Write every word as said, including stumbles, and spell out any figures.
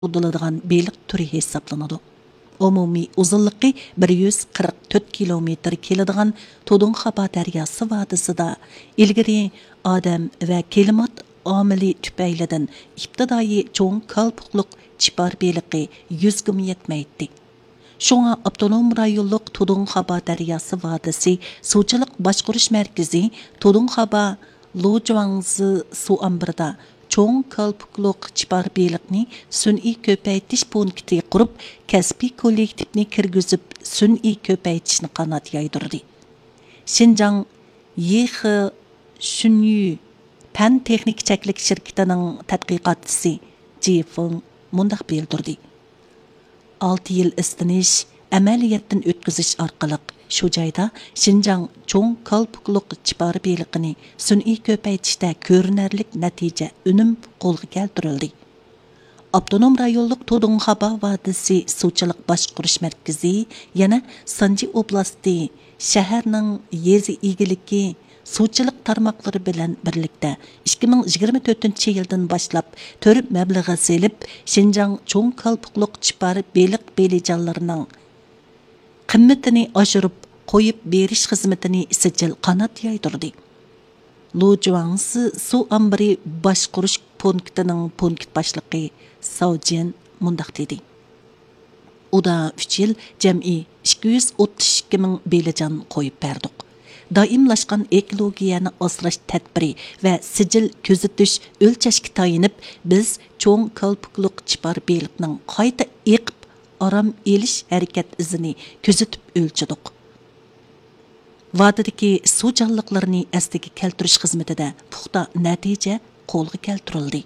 سودىلىدىغان بېلىق تۈرى ھېسابلىنىدۇ. ئومۇمىي ئۇزۇنلۇقى بىر يۈز قىرىق تۆت كىلومېتىر كېلىدىغان تۇدۇڭخابا دەرياسى ۋادىسىدا ئىلگىرى ئادەم ۋە كىلىمات ئامىلى تۈپەيلىدىن ئىپتىدائىي چوڭ كالپۇكلۇق چىپار بېلىقى يۈزگىمۇ يەتمەيتتى. شۇڭا ئاپتونوم رايونلۇق تۇدۇڭخابا دەرياسى ۋادىسى سۇچىلىق باشقۇرۇش مەركىزى تۇدۇڭخابا لۇجۇاڭزى سۇ ئامبىرىدا چوڭ كالپۇكلۇق چىپار بېلىقنى سۈنئىي كۆپەيتىش پونكىتى قۇرۇپ، كەسپىي كوللېكتىپنى كىرگۈزۈپ، سۈنئىي كۆپەيتىشنى قانات يايدۇردى. شىنجاڭ يىخې شۈنيۈ پەن تېخنىكا چەكلىك شىركىتىنىڭ تەتقىقاتچىسى جى فېڭ مۇنداق بىلدۈردى: ئالتە يىل ئىزدىنىش، ئەمەلىيەتتىن ئۆتكۈزۈش ئارقىلىق، شۇ جايدا شىنجاڭ چوڭ كالپۇكلۇق چىپار بېلىقىنى سۈنئىي كۆپەيتىشتە كۆرۈنەرلىك نەتىجە، ئۈنۈم قولغا كەلتۈرۈلدى. ئاپتونوم رايونلۇق تۇدۇڭخابا ۋادىسى سۇچىلىق باشقۇرۇش مەركىزى يەنە سانجى ئوبلاستى شەھەرنىڭ يېزا ئىگىلىكى سۇچىلىق تارماقلىرى بىلەن بىرلىكتە ئىككى مىڭ يىگىرمە تۆتىنچى يىلدىن باشلاپ تۈر مەبلىغى سېلىپ، شىنجاڭ چوڭ كالپۇكلۇق چىپار بېلىق بېلىجانلىرىنىڭ قىممىتىنى ئاشۇرۇپ قويۇپ بېرىش خىزمىتىنى سىجىل قانات يايدۇردى. لۇجۇاڭسى سۇ ئامبىرى باشقۇرۇش پونكىتىنىڭ پونكىت باشلىقى ساۋ جيەن مۇنداق دېدى: ئۇدا ئۈچ يىل جەمئىي ئىككى يۈز ئوتتۇز ئىككى مىڭ بېلىجان قويۇپ بەردۇق. دائىملاشقان ئېكولوگىيەنى ئاسراش تەدبىرى ۋە سىجىل كۆزىتىش، ئۆلچەشكە تايىنىپ، بىز چوڭ كالپۇكلۇق چىپار بېلىقنىڭ قايتا ئېقىپ ئارام ئېلىش ھەرىكەت ئىزىنى كۆزىتىپ ئۆلچىدۇق. ۋادىدىكى سۇ جانلىقلىرىنى ئەسلىگە كەلتۈرۈش خىزمىتىدە پۇختا نەتىجە قولغا كەلتۈرۈلدى.